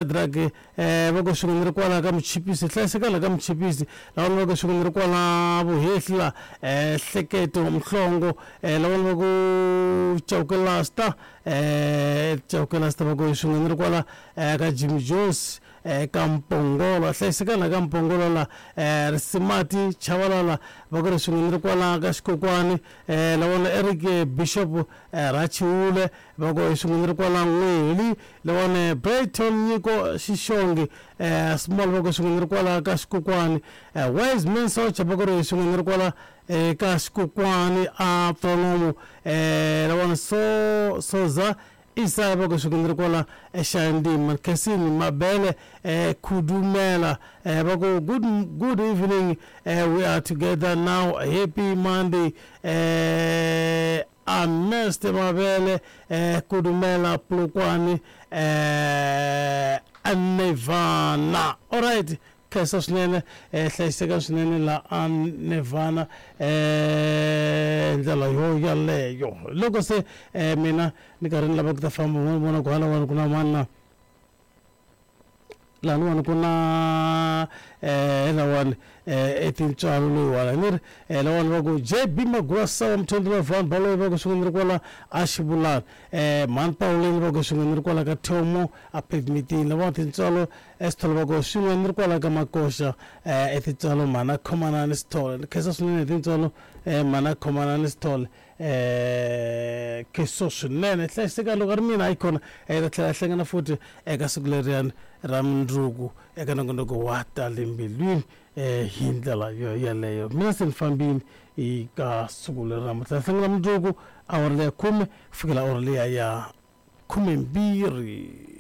Drag va ku swin'we ni ri kwala ka Muchipisi, hlayiseka la ka Muchipisi. Lavan'wana va ku swin'we ni ri kwala Vuhehli la Hleketo Mhlongo. Lavan'wana va ku Chauke Lasta, Chauke Lasta va ku swin'we ni ri kwala ka Jimmy Jones ka Mpongolo, hlayiseka la ka Mpongolo la. Risimati Chavalala va ku ri swin'we ni ri kwala ka Xikokwani. Lavan'wana Eric Bishop Rachiule va ku swin'we ni ri kwala N'weli. Lawani Brayton Nyiko Xixongi Small va ku swin'we ni ri kwala ka Xikokwani. Wise Man Socha va ku ri swin'we ni ri kwala ka Xikokwani a Pfanomo. Lawani So Soza Isaya va ku swin'we ni ri kwala eXayandima. Khensini Mabele Khudumela va ku good evening, we are together now, happy Monday. Ernest Mabele Kudumela Polokwane Nevana. Alright, khensa swinene, hlayiseka swinene la a Nevana ndlela yo yaleyo. Loko se mina ni karhi ni lava ku ta famba, ni vona ku halawani ku na mani na laniwani ku na lawani i tintswalo loyiwani ni ri lawani va ku JB Magwasa wa Mthondri wa Van Baloyi va ku swin'we ni ri kwala a Xivulani, Mhani Pawuleni va ku swin'we ni ri kwala ka Thomo a Pavementini. Lawani tintswalo Sithole va ku swin'we ni ri kwala ka Makoxa i tintswalo mhana Khomanani Sithole. Ni khensa swinene hi tintswalo mhana Khomanani Sithole. Kheso swinene, hlayiseka loko a ri mina hayikhona hi ta tlhela hi hlangana futhi eka siku leriyani ra mundzuku eka nongonoko wa ta le mbilwini hi ndlela yo yeleyo. Mina se ni fambile eka siku leri namuntlha, hi hlangana mundzuku awara leya khume ku fikela awara liya ya khumembirhi.